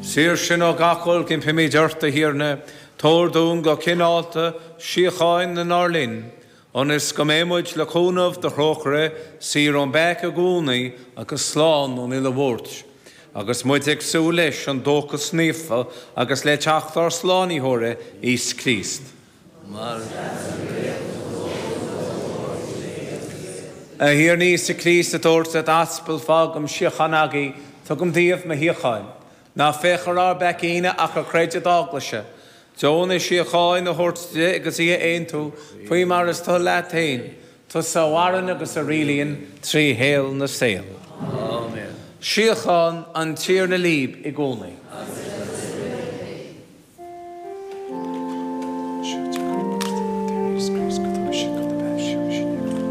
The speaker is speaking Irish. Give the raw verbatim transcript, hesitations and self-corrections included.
Saor sinn ó gach olc, impímid ort, a Thiarna, tabhair dúinn go cineálta síocháin inár linn, ionas go mbeidh muid le cúnamh do thrócaire saor ón bpeaca i gcónaí agus slán ón uile bhuairt. Agus muid ag súil leis an dóchas naofa agus le teacht ár Slánaitheora Íosa Críost. Mar A Thiarna Íosa Críost a dúirt le d'aspail fágaim síocháin agaibh, tugaim daoibh mo shíocháin. Ná féach ar ár bpeacaí-ne ach ar chreideamh d'eaglaise. Deonaigh síocháin a thabhairt di agus í a aontú faoi mar is toil leat féin, tusa a mhaireann agus a rialaíonn trí shaol na saol. Áiméan. Síocháin an Tiarna libh i gcónaí.